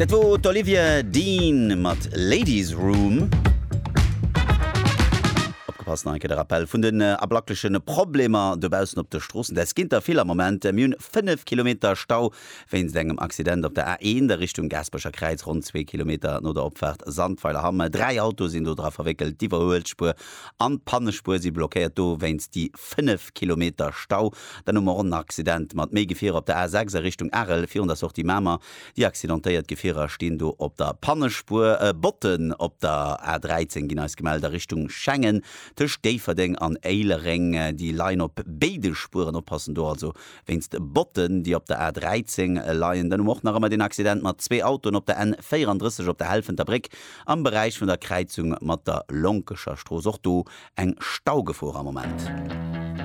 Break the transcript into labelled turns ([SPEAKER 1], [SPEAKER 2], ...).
[SPEAKER 1] Dat wor d'Olivia Dean mat Ladies Room. Opgepasst, nach eng Kéier de Rappel vun den ablackleche Problemer dobaussen op de Stroossen. Dat ginn der vill am Moment. Mir hunn 5 Kilometer Stau wéinst engem Accident op der A1 a Richtung Gaasperecher Kräiz, ronn zwee Kilometer no der Opfaart Sandweiler-Hamm. Dräi Autoe sinn do dra verwéckelt. D'Iwwerhuelspuer an d'Pannespuer si blockéiert dowéinst déi 5 Kilometer Stau. Dann hu mer och en Accident mat méi Gefierer op der A6 a Richtung Arel virun der Sortie Mamer. Déi accidentéiert Gefierer stinn do op der Pannespuer. Botten op der A13 ginn eis gemellt a Richtung Schengen tëscht Déifferdeng an Éilereng. Déi leien op béide Spueren. Oppassen do also wéinst Botten, déi op der A13 leien. Dann hu mer och nach ëmmer deen Accident mat zwee Autoen op der N34 op der Helfenter Bréck am Beräich vun der Kräizung mat der Lonkecher Strooss. Och do eng Staugefor am Moment.